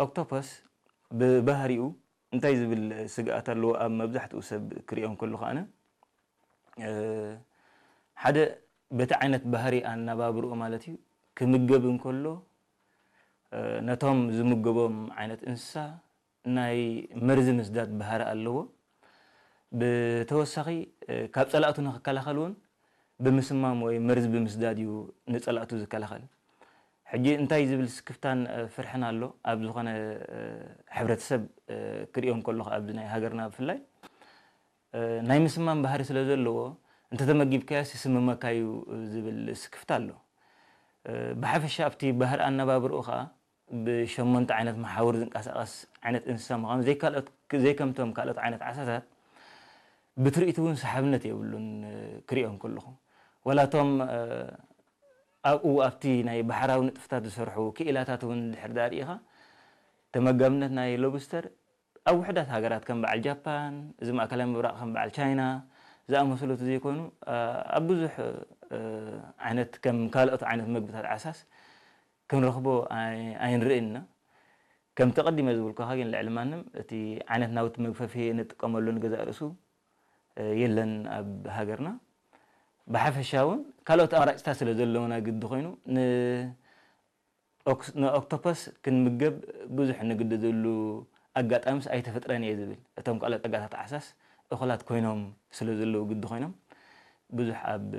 ኦክቶፐስ ብባህሪኡ እንታይ ዝብል ስግኣት ኣለዎ? ኣብ መብዛሕትኡ ሰብ ክሪኦ እንከሎ ከኣነ ሓደ በቲ ዓይነት ባህሪ ኣነባብርኡ ማለት እዩ ክምገብ እንከሎ ነቶም ዝምገቦም ዓይነት እንስሳ ናይ መርዚ ምስዳድ ባህሪ ኣለዎ። ብተወሳኺ ካብ ጸላእቱ ንክከላኸል እውን ብምስማም ወይ መርዚ ብምስዳድ እዩ ንጸላእቱ ዝከላኸል። ሕጂ እንታይ ዝብል ስክፍታን ፍርሕን ኣሎ? ኣብ ዝኾነ ሕብረተሰብ ክሪኦ እንከለኹ ኣብዚ ናይ ሃገርና ብፍላይ ናይ ምስማም ባህሪ ስለ ዘለዎ እንተተመጊብካዮ ይስምመካ እዩ ዝብል ስክፍታ ኣሎ። ብሓፈሻ ኣብቲ ባህሪ ኣነባብርኡ ከዓ ብሸሞንተ ዓይነት መሓውር ዝንቀሳቐስ ዓይነት እንስሳ ምዃኑ ዘይካልኦት ዘይከምቶም ካልኦት ዓይነት ዓሳታት ብትርኢቱ እውን ሰሓብነት የብሉን። ክሪኦ እንከለኹ ዋላቶም ኣብኡ ኣብቲ ናይ ባሕራዊ ንጥፍታት ዝሰርሑ ክኢላታት እውን ድሕር ዳርኢኻ ተመጋብነት ናይ ሎብስተር ኣብ ውሕዳት ሃገራት ከም በዓል ጃፓን፣ እዚ ማእከላይ ምብራቕ ከም በዓል ቻይና ዝኣመሰሉ ዘይኮኑ ኣብ ብዙሕ ዓይነት ከም ካልኦት ዓይነት መግብታት ዓሳስ ክንረኽቦ ኣይንርእይና። ከምቲ ቀዲመ ዝብልኩኻ ግን ልዕሊ ማንም እቲ ዓይነት ናውቲ መግፈፊ እንጥቀመሉ ንገዛእ ርእሱ የለን ኣብ ሃገርና። ብሓፈሻ እውን ካልኦት ኣማራጭታት ስለ ዘለውና ግዲ ኮይኑ ንኦክቶፐስ ክንምገብ ብዙሕ እንግደደሉ ኣጋጣሚስ ኣይተፈጥረን እየ ዝብል። እቶም ካልኦት ጸጋታት ዓሳስ እኹላት ኮይኖም ስለ ዘለዉ ግዲ ኮይኖም ብዙሕ ኣብ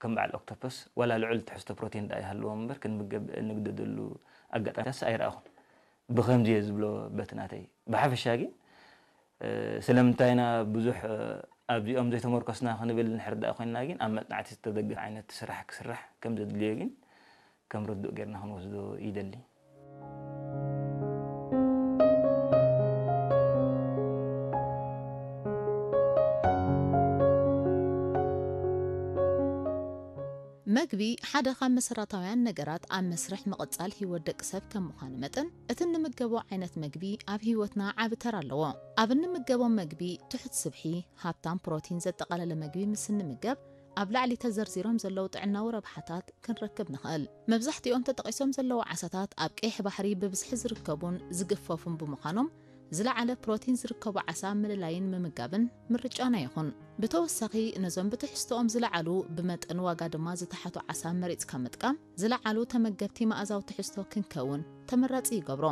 ከም በዓል ኦክቶፐስ ዋላ ልዑል ትሕዝቶ ፕሮቲን ደኣ ይሃልዎም እምበር ክንምገብ እንግደደሉ ኣጋጣሚታት ኣይረኣኹን። ብኸምዚ እየ ዝብሎ በቲ ናተይ። ብሓፈሻ ግን ስለምንታይ ኢና ብዙሕ ኣብዚኦም ዘይተመርኮስና ክንብል ንሕር ደኣ ኮይንና ግን ኣብ መጽናዕቲ ዝተደገፈ ዓይነት ስራሕ ክስራሕ ከም ዘድልዮ ግን ከም ርዱእ ጌርና ክንወስዶ ይደሊ። መግቢ ሓደ ካብ መሰረታውያን ነገራት ኣብ መስርሕ ምቕጻል ህይወት ደቂ ሰብ ከም ምዃኑ መጠን፣ እቲ እንምገቦ ዓይነት መግቢ ኣብ ህይወትና ዓቢ ተራ ኣለዎ። ኣብ እንምገቦ መግቢ ትሑት ስብሒ፣ ሃብታም ፕሮቲን ዘጠቓለለ መግቢ ምስ እንምገብ፣ ኣብ ላዕሊ ተዘርዚሮም ዘለዉ ጥዕናዊ ረብሓታት ክንረክብ ንኽእል። መብዛሕትኦም ተጠቒሶም ዘለዉ ዓሳታት ኣብ ቀይሕ ባሕሪ ብብዝሒ ዝርከቡን ዝግፈፉን ብምዃኖም፣ ዝለዓለ ፕሮቲን ዝርከቦ ዓሳ ምልላይን ምምጋብን ምርጫና ይኹን። ብተወሳኺ ነዞም ብትሕዝቶኦም ዝለዓሉ ብመጠን ዋጋ ድማ ዝተሓቱ ዓሳ መሪጽካ ምጥቃም ዝለዓሉ ተመገብቲ መኣዛዊ ትሕዝቶ ክንከውን ተመራጺ ይገብሮ።